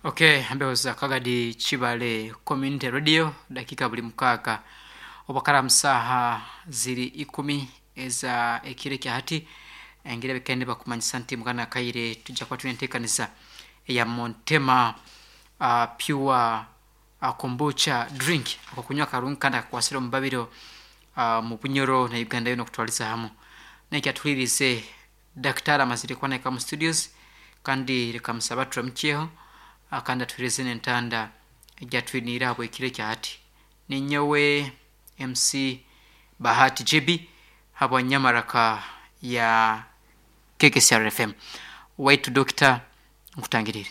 Okay, mbeho za Kagadi Kibale Community Radio dakika buli mukaaga obwakara musaha ziri ikumi eza ekiro ekya hati. Engeri ebikaire nibakumanyisa nti mukana akaire tujja kuba twine enteekaniza eya Montema Pure Kombucha Drink, akokunywa akarungi kandi akakwasire omu babiro omu Bunyoro na Uganda yoona okutwariza hamu. Nekyatuhuririize Dakitari amazire kuba nahika omu studios kandi reka musabe aturamukyeho kandi atuhereze n'entanda egi atwiniire ahabw'ekiro ekya hati. Ninyowe MC Bahati JB habwa nyamaraka ya KKCR FM. Waitu Dokita nkutangiriire.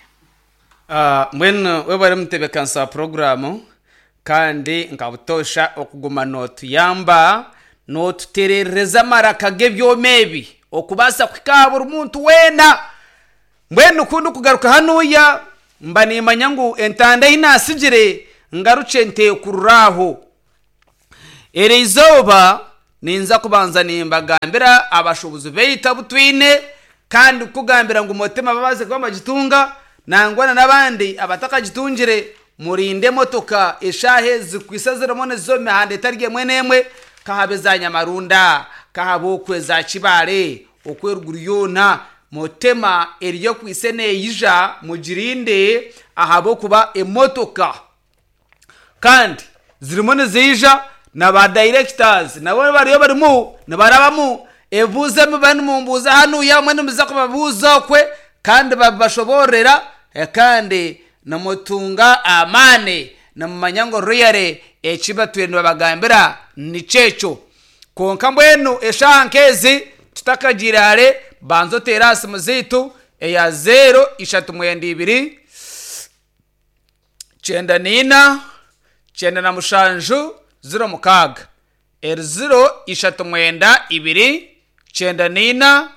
Mbwenu webare mutebekanisa wa puroguraamu kandi nka butoosha okuguma nootuyamba nootutereereza amaraka g'ebyoma ebi okubaasa kuhika aha buri muntu weena. Mbwenu ku ndikugaruka hanuya mba niimanya ngu entanda ei naatsigire ngarukye nteekurure aho. Eri izooba ninza kubanza nimbagambira abashuubuzi baitu abu twine kandi kukugambira ngu Motema babaase kuba nibagitunga nangwa na n'abandi abatakagitungire murinde emotoka eshaaha ezi zikwaitse zirimu niziza omu mihanda etari emwe n'emwe kahabe eza Nyamarunda, kahabe okwo eza Kibaale okwo eruguru yoona Motema eriyo ekwaitse neija mugirinde ahabw'okuba emotoka Kandi zirimu niziija na ba directors nabo bariyo barimu nibarabamu ebibuuzo ebi muba nimumbuuza hanuya abamwe nimuza kubabuuza okwe kandi babibashoboororera kandi nimutunga amaani nimumanya ngu really eki batwire nibabagambira nikyo ekyo. Kwonka mbwenu eshaaha nk'ezi tutakagiire hare banza oteere aha simu zaitu eya zeero ishatu mwenda ibiri, 94, 97, 06, eri 0 ishatu mwenda ibiri, 94,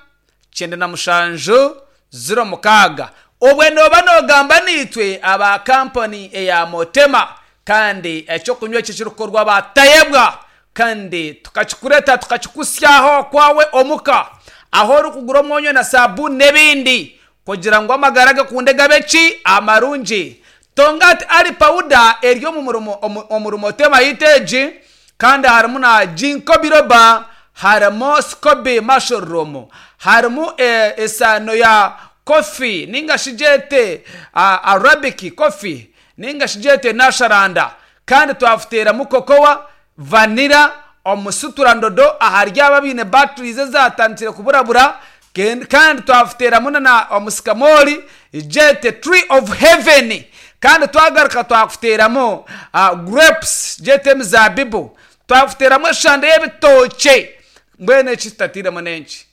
97, 06. Obwe nooba noogamba naitwe aba kampani eya Motema kandi eky'okunywa eki ekirikukorwa ba Tayebwa kandi tukakikureta tukakikusyaho okwawe omuka ahu orikugura omwonyo na sabuuni n'ebindi Kugira ngu amagara gakunde gabe ki? Amarungi. Tongati Ali pawuda eri omu murimo omuri Motema yaitu egi kandi harimu na Ginkgo biloba, harimu Scoby mushroom, harimu esaano ya coffee ninga shi gyete Arabic coffee ninga shi gyete nasharanda kandi twafuteeramu cocoa, vanilla, omusuturandodo ahari abo abaine batteries ezatandikire kuburabura Kandi twafuteeramu na omusikamoori, gyete tree of heaven. Kandi twagaruka twakuteeramu grapes, gyete emizaabibu. Twakuteeramu eshande y'ebitookye. Mbwenu eki tutatairemu n'enki?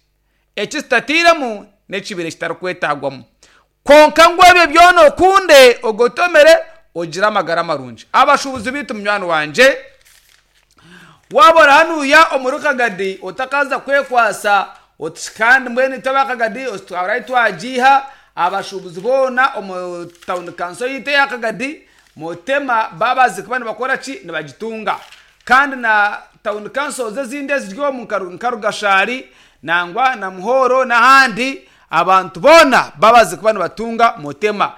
Eki tutatairemu n'ekibaire kitarikwetaagwamu. Kwonka ngu ebyo byona okunde, ogotomere, ogire amagara marungi. Abashuubuzi baitu munywani wangye, waaba ori hanuya omuri Kagadi otakaza kwekwasa oti kandi mbwenu itwe aba Kagadi twahura ahu twagiiha, abashuubuzi boona omu tawuni kanso yaitu eya Kagadi, Mutema baabaasize kuba nibakora ki? Nibagitunga. Kandi na tawuni kansozi ezindi eziri omu nka Rugashari nangwa na Muhoro n'ahandi, Abantu boona babaze kuba nibatunga Mutema.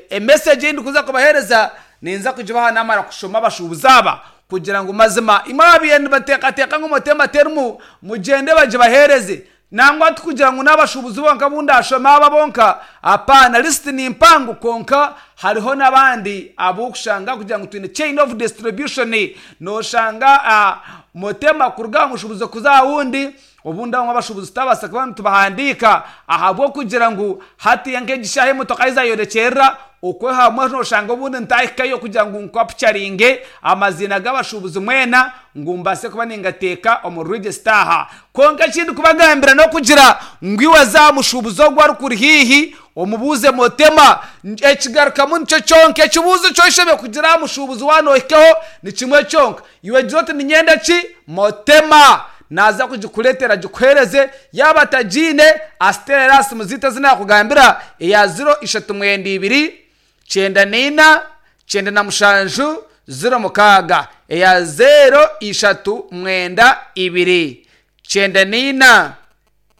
Emesegi ei ndikuza kubaheereza ninza kugibaha naamara kushoma abashuubuzi aba kugira ngu mazima imwe ababaire nibateekateeka ngu Mutema terimu mugyende bagibaheereze. Nangwa tikugira ngu n'abashuubuzi bonka abu ndaashome aba bonka, apaana, lisiti ni mpango kwonka hariho n'abandi abu orikushanga kugira ngu twine chain of distribution nooshanga Mutema kuruga aha mushuubuzi kuza aha wundi. Obundi abamwe abashuubuzi tutabaasa kuba nitubahandiika ahabw'okugira ngu hatiiya nk'egi shaaha emotoka ahu zaayorekyerera, okwe hamwe nooshanga obundi ntaahikayo kugira ngu nkwapucaringe amaziina g'abashuubuzi mwena ngu mbaase kuba ningateeka omu regisita aha. Kwonka eki ndikubagambira n'okugira ngu iwe za aha mushuubuzi ogwo arikuri haihi omubuuze Motema. Ekigarukamu nikyo kyonka. Ekibuuzo eki oshemereire kugira aha mushuubuzi waaba noohikaho ni kimwe kyonka. Iwe gira oti niinyenda ki? Motema. Naaza kugikureetera agikuheereze. Yaaba atagiine, asiteerere aha simu zaitu ezi naakugambira, eya ziro ishatu mwenda ibiri, kyenda naina, kyenda na mushanju, ziro mukaaga. Eya zeero ishatu mwenda ibiri, kyenda naina,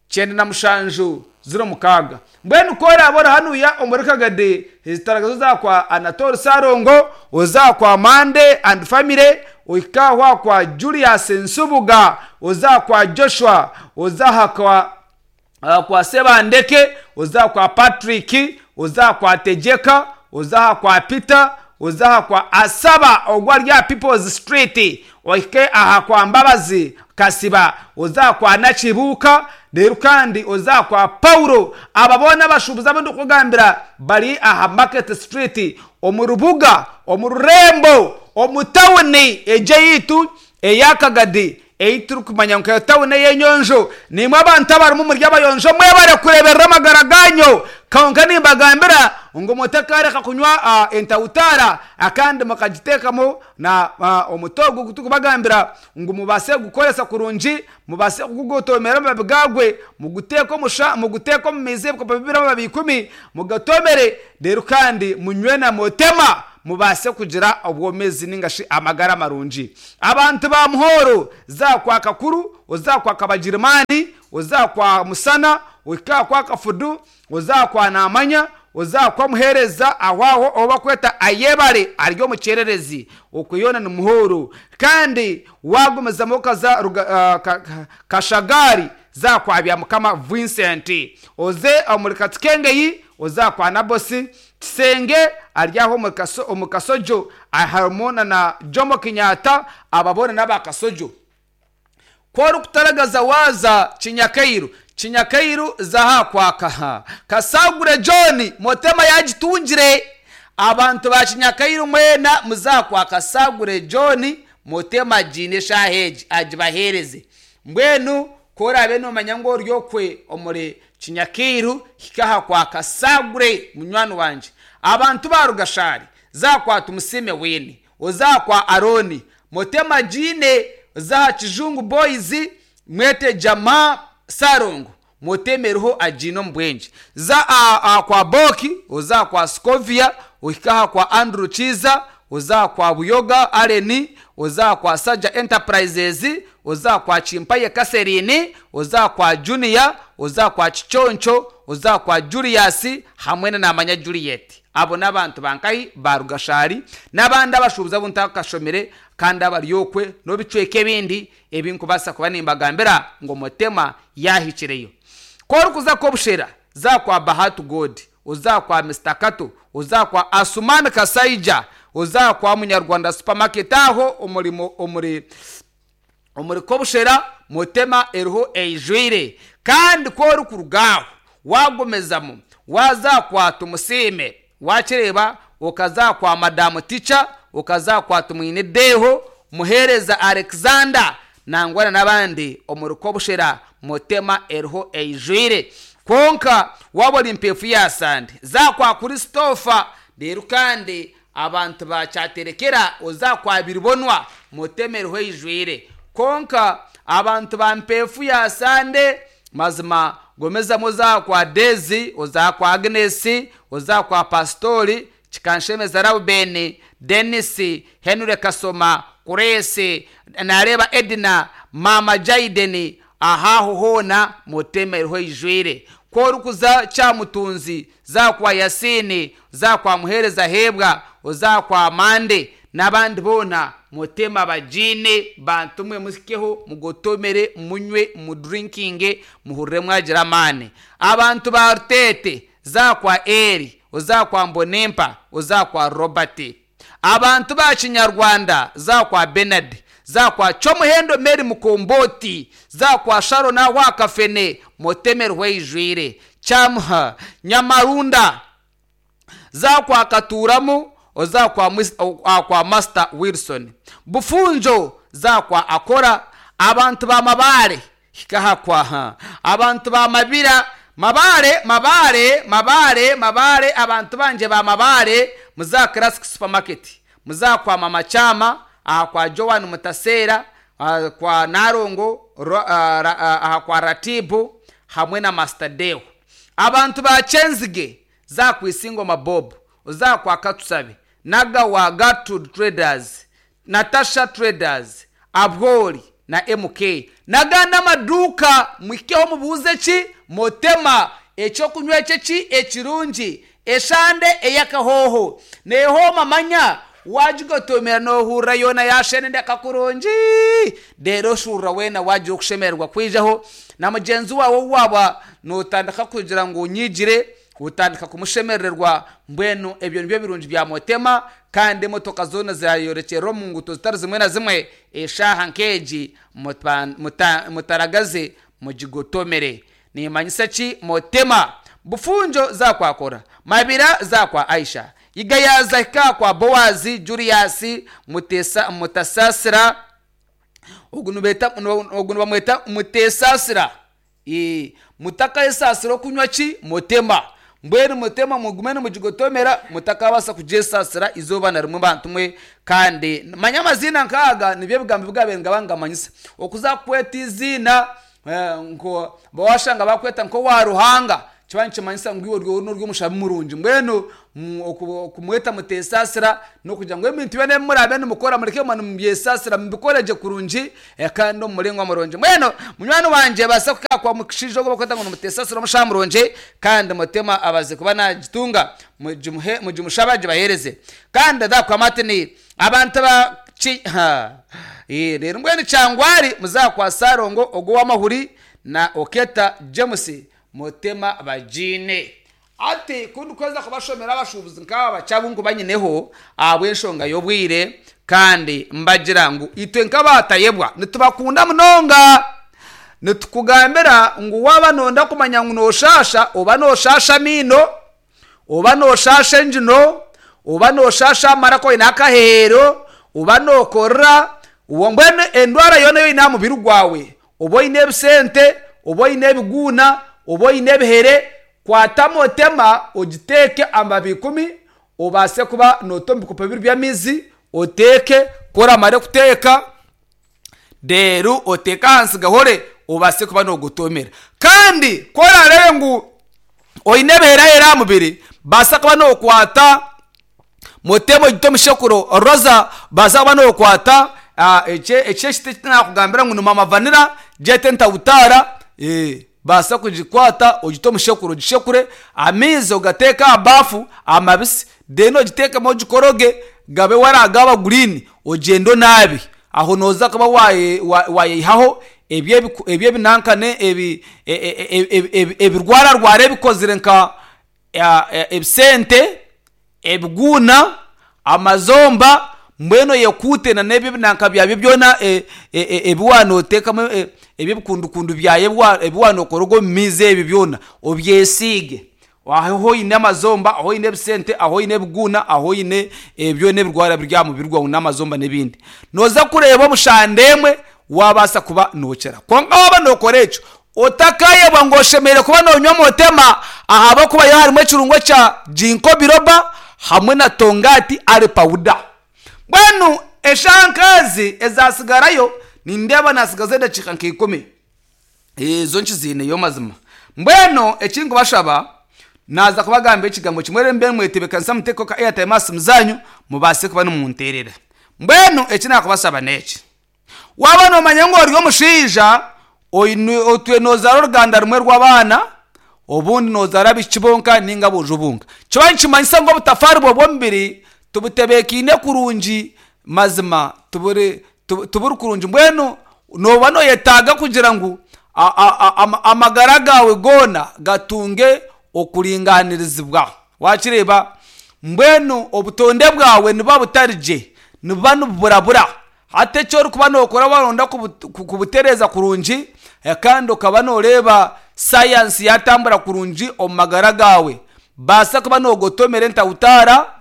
97, 06. Mbwenu ku oraabe ori hanuya omuri Kagadi, ezitaragazi oza kwa Anatole Ssalongo, oza kwa Mande and family, ohike aho aha kwa Julius Nsubuga, oza kwa Joshua, oza aha kwa aha kwa Sebandeke, oza aha kwa Patrick, oza aha kwa Tegyeka, oza aha kwa Peter, oza aha kwa Asaba ogwo ari aha People's Street, ohike aha kwa Mbabazi Kasiba, oze aha kwa Nakibuuka, reero kandi oze aha kwa Paulo. Aba boona abashuubuzi abu ndikukugambira bari aha Market Street omu rubuga, omu rurembo, omu tauni egi eyaitu eya Kagadi ei turikumanya nka tauni ey'enyonjo. Naimwe abantu abarimu muri abayonjo mwebare kureeberera amagara gaanyu. Kwonka nimbagambira ngu mutakaareka kunywa entawutaara kandi mukagiteekamu na omuti ogu ogu turikubagambira ngu mubaase kugukoresa kurungi, mubaase kugugotoomera amababi gaagwe, muguteeke omu sha, muguteeke omu maizi ebikopo bibiri amababi ikumi, mugatomere, reero kandi munywe na motema, mubaase kugira obwomeezi nainga shi amagara marungi. Abantu ba Muhooro, za kwa Kakuru, oza kwa Kabagirimaani, oza kwa Musana, ohike aha kwa Kafudu, oza kwa Naamanya, Oza kwa omuheereza aho aho ou barikweta Ayebare ari omu kyererezi. Okwo yoona ni Muhoro. Kandi waagumizamu okaza Kashagari, za kwa Byamukama Vincent. Oze omuri Katsukengeyi, oze kwa Nabosi Kisenge ari aho omu Kasojo harimu na Jomo Kenyatta aba boona n'aba Kasojo. Ku orikutaragaza waaza Kinyakairu, Kinyakairu za aha kwa Kasagure John, Motema yaagitungire. Abantu ba Kinyakairu mwena muze aha kwa Kasagure John, Motema agiine eshaaha egi agibaheereze. Mbwenu ku oraabe noomanya ngu ori okwe omuri Kinyakairu, hika aha kwa Kasagure munywani wangye. Abantu ba Rugashari, za aha kwa Tumusiime Wayne, oze aha kwa Arooni, Motema agiine. Oze aha Kijungu Boys, mwete Jamaa Ssalongo, mutemereho agiine omu bwengye. Za aha kwa Boki, oze aha kwa Scovia, ohike aha kwa Andrew Kiiza, oze aha kwa Buyoga Allen, oze aha kwa Saja Enterprises, oze aha kwa Kimpaye Catherine, oze aha kwa Junior, oze aha kwa Kiconco, oze aha kwa Julius hamwe na Namanya Juliet. Abo n'abantu ba nkahi? Ba Rugashari n'abandi abashuubuzi abu ntakashomire kandi abari okwe n'ebicweka ebindi ebi nkubaasa kuba nimbagambira ngu Mutema yaahikireyo. Ku orikuza Kobushera, za kwa Bahati God, oza kwa Mister Kato, oza kwa Asuman Kasaija, oza kwa Munyarwanda Supermarket aho omuri omuri Omuri Kobushera, Mutema eriho eijwire kandi ku orikuruga aho waagumizamu waaza kwa Tumusiime waakireeba okaza kwa Madamu Ticha, okaza kwa Tumwine Deho, Muheereza Alexander nangwa na n'abandi omuri Kobushera, Mutema eriho eijwire. Kwonka waaba ori mpeefu ya Sande, za kwa Christopher reero kandi Abantu ba Kyaterekera oza kwa Biribonwa mutemerwe eijwire. Kwonka abantu ba Mpeefu ya Sande mazima gumizamu oza kwa Daisy, oza kwa Agnes, oza kwa Pasitori Kikanshemeza Rauben, Denis, Henry Kasoma, Grace, nareeba Edna, Maama Jaiden aha aho hoona mutemerwe eijwire. Ku orikuza Kyamutunzi, za kwa Yasiini, za kwa Muheereza Heebwa, oza kwa Mande n'abandi boona, muteme abagiine, bantu mwe muhikeho mugotomere, munywe, mudrinkinge, muhurire mwagira amaani. Abantu ba Ruteete, za kwa Eri, oza kwa Mbonimpa, oza kwa Robert. Abantu ba Kinyarwanda, za kwa Benard. Za kwa Kyomuhendo Mary Mukomboti, za kwa Sharon aho aha Kafene, Muteme Rweijwire, Kyamuha, Nyamarunda, za kwa Katuuramu, oza kwa aha kwa Master Wilson, Bufunjo, za kwa Akora, abantu ba Mabare, hika aha kwa abantu ba Mabira, Mabare, Mabare, Mabare, Mabare, abantu bangye ba Mabare, muze aha Classic Supermarket, muze aha kwa Mama Kyama, aha kwa Joan Mutaseera, aha kwa Nalongo, aha kwa Ratibu hamwe na Master Deo. Abantu ba Kyenzige, za kwa Isingoma Bob, oza kwa Katusabe, Nagawa Gertrude Traders, Natasha Traders, Abwori na MK n'agandi amaduuka muhikeho mubuuze ki Mutema. Ekyokunywa eki eki ekirungi, eshande ey'akahooho neehooma manya waagigotomera noohurira yoona yaasheneneka kurungi reero oshuurura weena waagira okushemererwa kwijaho na mugyenzi waawe ou waaba nootandika kugira ngu onyiigire otandika kumushemerererwa. Mbwenu ebyo nibyo birungi bya Motema kandi emotoka zoona zaayorekyerera omu nguuto zitari zimwe na zimwe eshaaha nk'egi mutaragaze mugigotomere. Nimanyisa ki Motema? Bufunjo za kwa Kora, Mabira za kwa Aisha, Yiga yaaza hika kwa Boazi, Julius Mutesa, Mutasasira, ogu nibeeta ogu nibamweta Mutesasira. Ee, mutakayesaasira okunywa ki? Motema. Mbwenu Motema mugume nimugigotomera mutakabaasa kugyesasira izooba na rimwe bantu mwe. Kandi manya amaziina nk'aga nibyo ebigambo ebi gaabaire nigaba nigamanyisa. Okuza kukweta eiziina Nko washanga bakweta nk'owa Ruhanga kiba nikimanyisa ngu iwe ori ori omushabi murungi. Mbwenu okumweta mutesaasira n'okugira ngu ebintu byona ebi muraabe nimukora mureke kuguma nimubyesaasira mubikore gye kurungi kandi omu muringo murungi. Mbwenu munywani wangye baasa kuhika kwa mushaija ogu barikweta ngu ni Mutesaasira omushaho murungi kandi Mutima abaze kuba naagitunga mugimuhe mugimushabe agibaheereze. Kandi Martin abantu ba Ki, ha. Ee, reero mbwenu Kyangwari muze kwa Ssalongo ogwo ow'amahuri na Oketa James Mutema bagiine. Hati ku ndikuheza kubashomera abashuubuzi nk'aba bakye abu nkuba nyineho ahabw'enshonga y'obwire kandi mbagira ngu itwe nk'abaatayebwa nitubakunda munonga. Nitukugambira ngu waaba nooyenda kumanya ngu nooshaasha oba nooshaasha amaino, Oba nooshaasha engino, oba nooshaasha amaraka oine akaheero, oba nookorora, mbwenu endwara yoona ei oine aha mubiri gwawe, oba oine ebisente, oba oine ebiguuna, oba oine ebihere, kwata motema ogiteeke amababi ikumi, obaase kuba noota omu bikopo bibiri by'amaizi, oteeke, ku oramare kuteeka, reero oteeke ahansi gahore, obaase kuba noogotoomera. Kandi ku oraareebe ngu oine ebiherahera aha mubiri, baasa kuba nookwata mutema ogite omu shekuro roza, baasa kuba nookwata eki eki eki naakugambira ngu ni mama vanira, gyete ntawutaara, baasa kugikwata ogite omu shekuro ogishekure, amaizi ogateeke aha baafu amabisi, then ogiteekemu ogikoroge gabe waraagaba guriini, ogyende onaabe. Aho nooza kuba waayeyihaho eby'ebinankane ebirwararwara ebikozire nka ebisente, ebiguuna, amazomba, mbwenu oyekuute nana ebyo ebinanka byabyo byona ebi waaba nooteekamu eby'ebikundukundu byayo ebi waaba nookoroga omu maizi ebyo byona obyesiige. Ahu oine amazomba, ahu oine ebisente, ahu oine ebiguuna, ahu oine byona ebirwara biri aha mubiri gwawe n'amazomba n'ebindi. Nooza kureeba omu shande emwe waabaasa kuba nookira. Kwonka waaba nookora ekyo, otakaayebwa ngu oshemereire kuba noonywa Motema ahabw'okuba yo harimu ekirungo kya Ginkgo biloba hamwe na Tongati aloe powder. Mbwenu eshaaha nk'ezi ezaatsigarayo, nindeeba naatsigaza edakiika nka ikumi. Ezo nkiziineyo mazima. Mbwenu eki nkubashaba, naaza kubagambira ekigambo kimwe reero mube nimwetebeekanisa muteekeho ka airtime aha simu zaanyu mubaase kuba nimunteerera. Mbwenu eki naakubashaba n'eki, waaba noomanya ngu ori omushaija oine otwire noozaara oruganda rumwe rw'abaana, obundi noozaara abaishiki bonka nainga aboojo bonka, kiba nikimanyisa ngu obutafaari bwawe bw'omubiri tibutebeekaine kurungi mazima tiburi tiburi kurungi mbwenu nooba nooyetaaga kugira ngu amagara gaawe goona gatunge okuringaanirizibwa. Waakireeba? Mbwenu obutonde bwawe nibuba butari gye, nibuba nibuburabura. Hati eki orikuba nookora waaba nooyenda kubutereeza kurungi kandi okaba nooreeba sayansi yaatambura kurungi omu magara gaawe, baasa kuba noogotomera entahutaara,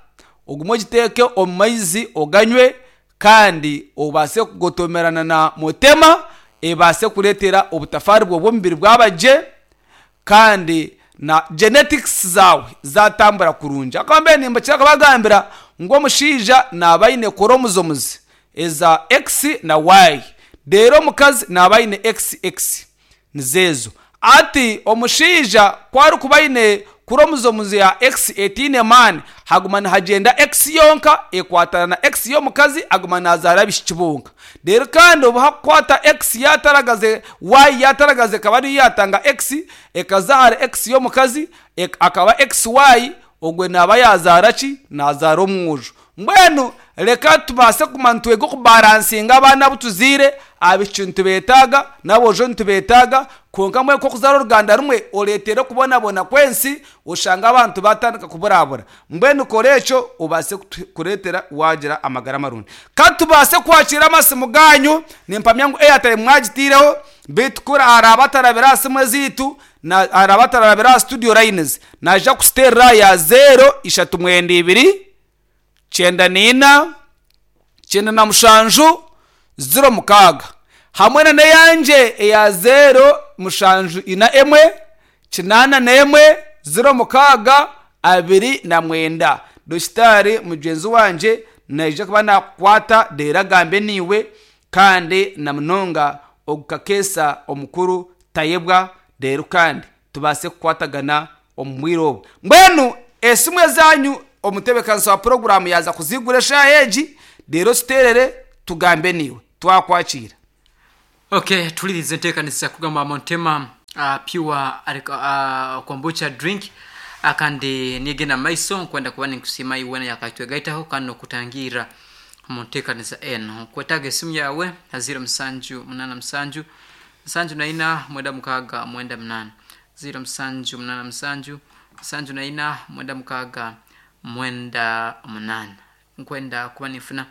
ogume ogiteeke omu maizi oganywe kandi obaase kugotomerana na Mutema ebaase kureetera obutafaari bwawe bw'omubiri bwaba gye kandi na genetics zaawe zaatambura kurungi. Ahakuba mbwenu nimbakira kubagambira ngu omushaija naaba aine chromosomes eza X na Y reero omukazi naaba aine XX nizo ezo. Hati omushaija ku arikuba aine. Kuromozomuzi ya X etaine maani, haguma nihagyenda X yonka ekwatana na X y'omukazi aguma naazaara abaishiki bonka. Reero kandi obu hakukwata X yaataragaza, Y yaataragaza ekaba niyo yaatanga X, ekaza ahari X y'omukazi akaba XY, ogwo naaba yaazaara ki? Naazaara omwojo. Mbwenu reka tubaase kuguma nitwega okubaransinga abaana abu tuzaire, abaishiki nitubeetaaga n'aboojo nitubeetaaga, kwonka mbwenu nk'okuzaara oruganda rumwe oreetere okubonabona kw'ensi, oshange abantu baatandika kuburabura. Mbwenu kora ekyo obaase kureetera waagira amagara marungi. Ka tubaase kwakiira amasimu gaanyu, nimpamya ngu airtime mwagitaireho, beitu ku araabe atarabire aha simu ezaitu, araabe atarabire aha studio lines, naija kututeerera aha ya zeero ishatu mwenda ibiri, kyenda naina, 97, 06 hamwe na n'eyangye eya zeero mushanju ina emwe, 81, 06, 29. Dokitaari mugyenzi wangye naija kuba naakukwata reero agambe naiwe kandi na munonga ogu kakeesa omukuru Tayebwa reero kandi tubaase kukwatagana omu bwire obu. Mbwenu esimu ezaanyu omutebeekanisa wa puroguraamu yaaza kuziigura eshaaha egi, reero otuteerere tugambe naiwe. Twakwakiira. Ok tuhuririze enteekanisa kugamba Montema pure kombucha drink kandi nigenda mumaiso nkwenda kuba ninkusiima iwe weena yakatwegaitaho kandi n'okutangirra omu nteekanisa enu. Nkwetaaga esimu yaawe ha ziro musanju munaana musanju 74 6 98 0 7 8 7 7 4 6 9 8 Nkwenda kuba ninfuna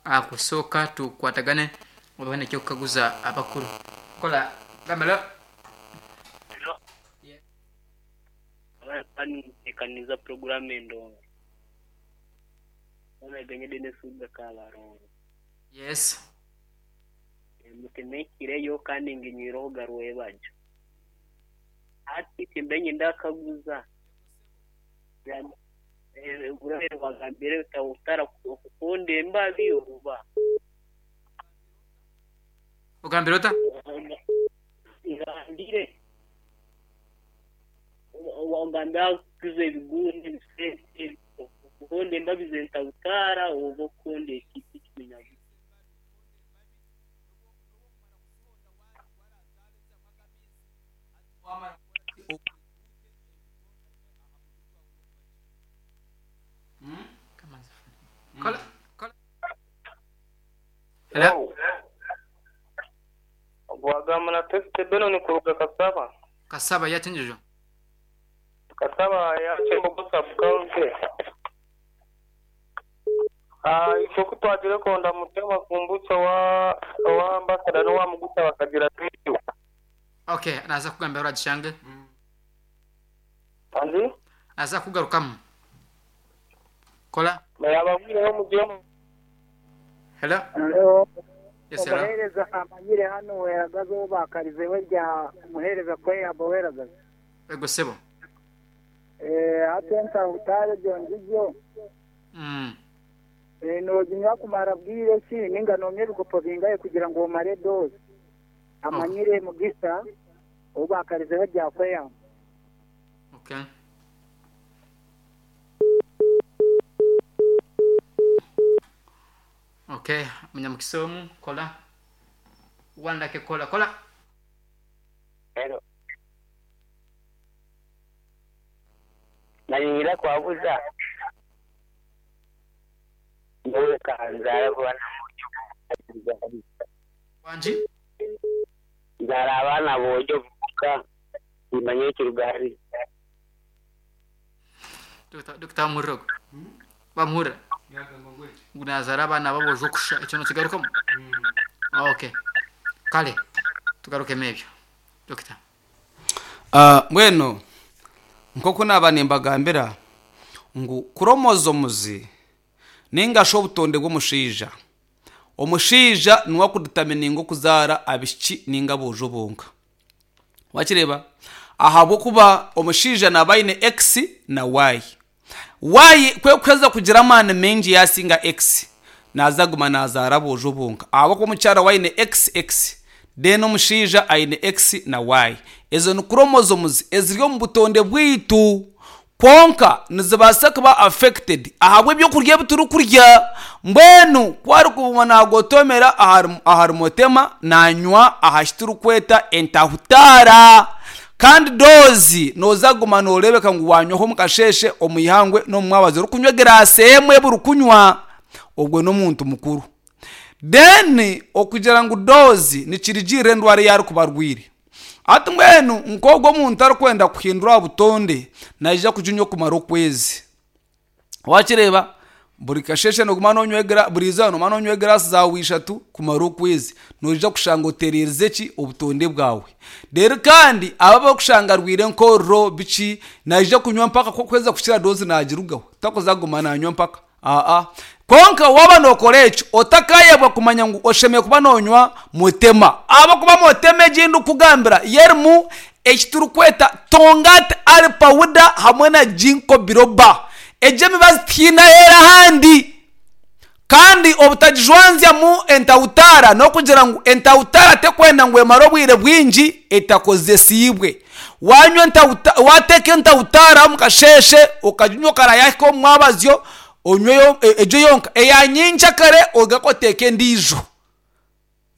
ahakusooka tukwatagane oba hoine eky'okukaguza abakuru. Kola gamba lo. Nintekaniza puroguramu endongo. Yes. Mutemekireyo kandi nginywireho garwebagyo. Hati timbe nyenda kukaguza. Wagambire otakukunda embabi oba? Ogambire ota? Ngambire. Wagambire akukuza ebigundi, ebisente, okukunda embabi zentabutaara oba okukunda ekiti ekiminyabuto. Kola, kola. Hello. Wagamba na Tesite Benon kuruga Kasaba. Kasaba yakinjujo. Kasaba ya Kyembogo sub county. Ah, itwe ku twagire konda mutema kumbucha wa wa ambassador n'owa mugusa bakagira twitu. Okay, naza kugambira oragishange. Anzi? Naza kugarukamu. Kola. Yababwireho mugire Hello. Hello. Yes, hello. Omuheereza amanyire hanu weragaza ou baakarizeho erya muheereza kweyamba weragaza. Ego sebo. Eh, hati entahutare egyo ngigyo Mm. eh, nooginywa kumara bwire ki ninga noonywa ebikopo bingahe kugira ngu omare doozi? Amanyire Mugisa ou baakarizeho erya kweyamba. Okay. Okay, munyamukisa omu kola. Wandake kola kola. Hello. Nanyingira kwabuza. Nyowe kanzaara abaana Wangi? Nzaara abaana boojo bonka timanya ekiruga hari. Dokita dokita wamuhurira ogwo? Wamuhurira? Ngu nazaara abaana b'aboojo kusha ekyo nokigarukamu? Okay. Kale tugarukemu ebyo. Dokita. Ah, mbwenu nk'oku naaba nimbagambira ngu kuromozomuzi ninga shi obutonde bw'omushaija omushaija niwe akuditamininga okuzaara abaishiki ninga aboojo bonka wakireeba ahabw'okuba omushaija naaba aine X na Y Y ku ekuheza kugira amaani maingi yaasinga X naaza kuguma naazaara aboojo bonka ahabw'okuba omukyara we aine XX then omushaija aine X na Y. Ezo ni chromosomes eziri omu butonde bwaitu. Kwonka nizibaasa kuba affected ahabw'ebyokurya ebi turikurya. Mbwenu ku arikuguma naagotomera ahari mutema naanywa aha ki turikweta entahutaara. Kandi doozi nooza kuguma nooreebeka ngu waanywaho omu kasheeshe, omu ihangwe n'omu mwabazyo orikunywa egiraasi emwe buri kunywa, ogwo n'omuntu mukuru. Then okugira ngu doozi nikirigiirira endwara ei arikuba arwaire. Hati mbwenu nk'ogwo omuntu arikwenda kuhindura aha butonde, naija kuginywa okumara okwezi. Wakireeba? Buri kasheeshe nooguma noonywa egiraasi, buri izooba nooguma noonywa egiraasi zaawe ishatu kumara okwezi. Noija kushanga otereerize ki? Obutonde bwawe. Reero kandi abo abarikushanga arwaire enkororo biki, naija kunywa mpaka ku arikuheza kukira doozi naagirugaho. Takuza kuguma naanywa mpaka. Aa. Kwonka waaba nookora ekyo, otakaayebwa kumanya ngu oshemereire kuba noonywa mutema. Ahabw'okuba mutema egi ei ndikukugambira yo erimu eki turikweta Tongkat Ali Powder hamwe na Ginkgo Biloba. Egyo emibazi tihaine ahu eri ahandi. Kandi obutagijwanzyamu entahutaara n'okugira ngu entahutaara terikwenda ngu emare obwire bwingi etakozesiibwe. Waanywa entahuta waateeka entahutaara omu kasheeshe okaginywa okarayahika omu mwabazyo onyweyo egyo yonka, eya nyenkyakare ogaruke oteeke endiijo.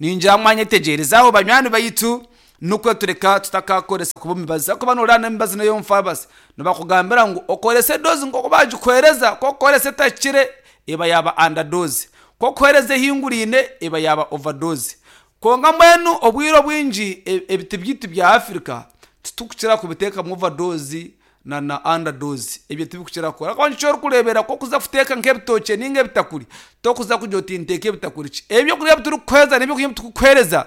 Ningira mwanyetegyereza aho banywani baitu, nikwo tureka tutakakoresa kuba emibazi. Ahakuba nooreeba n'emibazi n'ey'omu faamasi nibakugambira ngu okorese doozi nk'oku baagikuheereza, ku orikukoresa etahikire eba yaaba anda doozi, ku orikuheereza ehinguraine eba yaaba ova doozi. Kwonka mbwenu obwire obwingi ebiti byaitu bya Africa titurikukira kubiteekamu ova doozi na na anda doozi ebyo tibikukira kukora ahakuba nikyo orikureebera ku orikuza kuteeka nk'ebitookye nainga ebitakuri torikuza kugira oti nteeke ebitakuri ki ebyokurya ebi turikukuheereza n'ebyokurya ebi turikukuheereza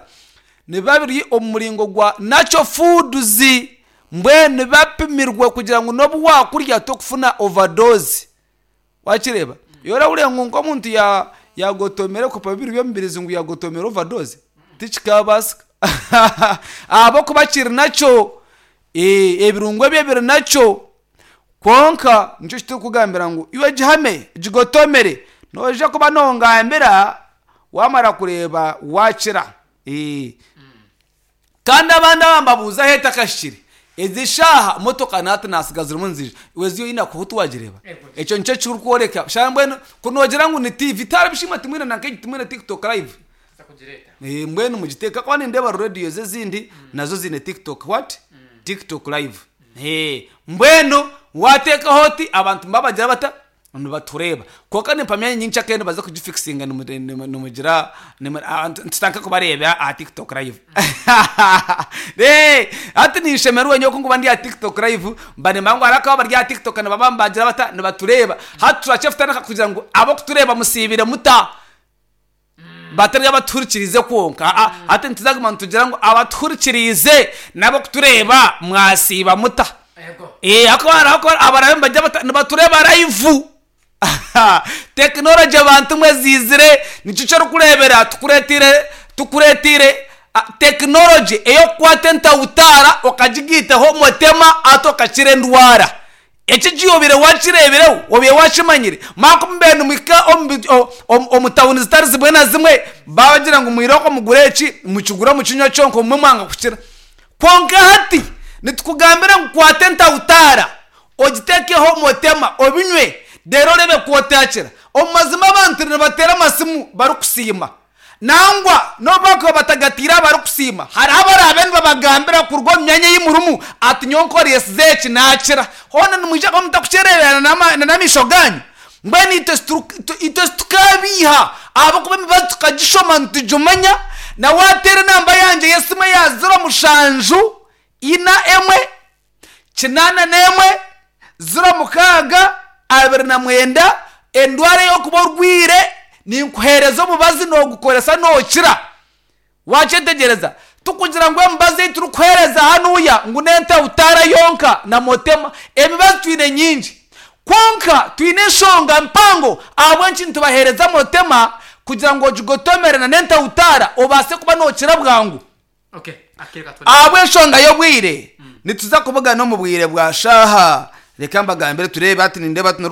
nibiba biri omu muringo gwa natural foods mbwenu nibiba bipimirwe kugira ngu n'obu waakurya torikufuna ova doozi. Wakireeba? Iwe orahurira ngu nk'omuntu ya yagotomera ebikopo bibiri by'omubirizi ngu yagotomera overdose? Tikikabaasika. Ahabw'okuba kiri nakyo, eh, ebirungo ebyo biri nakyo. Kwonka nikyo kiturikugambira ngu iwe gihame, gigotomere, noija kuba nongambira waamara kureeba waakira. Eh. Kandi abandi aba mbabuuza ahu etakahikire. Ezi shaaha motoka nahati nasiga zirimu niziija. Iwe ezi oine akuhutu wagireeba? Ekyo nikyo ekirikworeka. Shaaha mbwenu ku noogira ngu ni TV tihariho bishimwe timwine na nk'egi timwine TikTok live? Eh, mbwenu mugiteeke ahakuba nindeeba radios ezindi nazo ziine TikTok what? TikTok live. Eh, mbwenu waateekaho oti abantu nibabagira bata? Nibatureeba. Kwonka nimpamya nyenkya kare nibaza kugifikisinga nimugira tutandike kubareeba aha TikTok live. Hati ninshemererwa nyowe ku ndikuba ndi aha TikTok live mba nimanya ngu hariho abakaba bari aha TikTok nibaba nibagira bata nibatureeba. Hati turakye kutandika kugira ngu ab'okutureeba musiibire muta? Batari abatuhurikiriize kwonka. Aa, hati nituza kuguma nitugira ngu abatuhurikiriize n'ab'okutureeba mwasiiba muta? Eh, ahakuba hariho abakuba abarabe nibagira bata nibatureeba live. Tekinologi abantu mwe eziizire nikyo eki orikureebera tukureeteire tukureeteire tekinologi ey'okukwata entawutaara okagigaitaho omutema hati okakira endwara. Eki eki obaire wakireebireho, obaire wakimanyire? Manya ku mubaire nimuhika omu tawuni zitari zimwe na zimwe, baabagira ngu mwirooko mugure eki, mukigure mukinywe kyonka obumwe mwanga kukira. Kwonka hati nitukugambira ngu kwata entawutaara ogiteekeho motema obinywe reero oreebe ku otaakira. Omu mazima abantu nibateera amasimu barikusiima. Nangwa n'obu baakuba batagatiire abarikusiima, hariho abaraabe nibabagambira kuruga omu myanya ei murimu ati, Nyowe nkoreesize eki, naakira. Hoona nimwija kuba mutarikukyereebera n'amaisho gaanyu? Mbwenu itwe titukaabiiha, ahabw'okuba emibazi tukagishoma nitugimanya. Na waateera enamba yangye y'esimu eya ziro mushanju ina emwe 81 06 29 Endwara ey'okuba orwaire ninkuheereza omubazi noogukoresa nookira. Waakyetegyereza? Tikugira ngu emibazi ei turikuheereza hanuya ngu n'entahutaara yonka na motema. Emibazi twine nyingi. Kwonka twine enshonga mpango ahabw'enki nitubaheereza motema kugira ngu ogigotomere na n'entahutaara obaase kuba nookira bwangu. Ahabw'enshonga y'obwire, nituza kubugana omu bwire bwa shaaha. Reka mbagambire tureebe hati nindeeba hati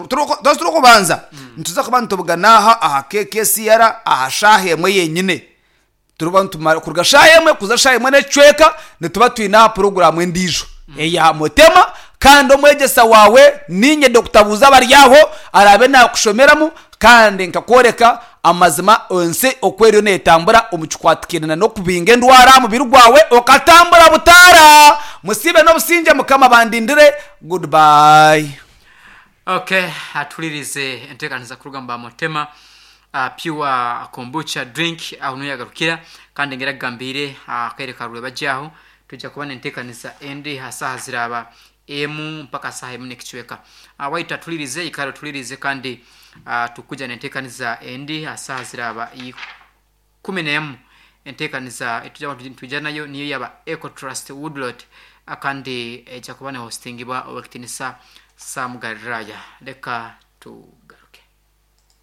turikubanza nituza kuba nitubugana aha aha KKCR aha shaaha emwe yenyine. Turiba nitumara kuruga shaaha emwe kuza shaaha emwe n'ekicweka nituba twine aha puroguraamu endiijo eya Mutema. Kandi omwegyesa waawe niinye Dokita Buuza Baryaho araabe naakushomeramu kandi nkakworeka amazima ensi oku eriyo neetambura omu kikwatikaine n'okubinga endwara aha mubiri gwawe okatambura butaara. Musiibe n'obusingye Mukama abandindire. Goodbye. Okay, atuhuririze enteekanisa kuruga omu Bamutema Pure Kombucha Drink aho niho yagarukira kandi ngira agambiire akaire ka rwebagye aho twija kuba n'enteekanisa endi ha saaha ziraaba emu mpaka saaha emu n'ekicweka. Waitu atuhuririze ikara otuhuririze kandi tukwija n'enteekaniza endi ha saaha ziraaba 11. Enteekaniza etuja nitwija nayo niyo yaba Ecotrust Woodlot kandi eja kuba nehostingibwa Owekitinisa Sam Galilaya. Leka tugaruke.